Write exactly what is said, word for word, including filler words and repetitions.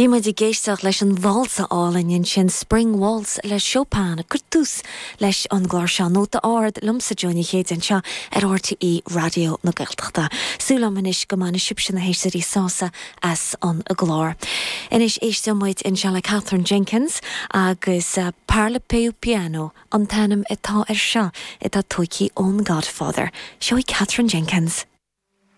Bhí muid ag éisteacht leis an válsa álainn ansin Spring Waltz le Chopin ag cur tús leis an gclár seo Nóta Ard liomsa Joe Ní Chéide anseo ar RTÉ Raidió na Gaeltachta. Súil agam anois go mbainfidh sibhse na héisteoirí sásamh as an gclár. Anois éisteoidh muid anseo le Katherine Jenkins agus uh, Parla Più Piano an t-ainm atá air seo atá tógtha ón Godfather. Seo í Katherine Jenkins.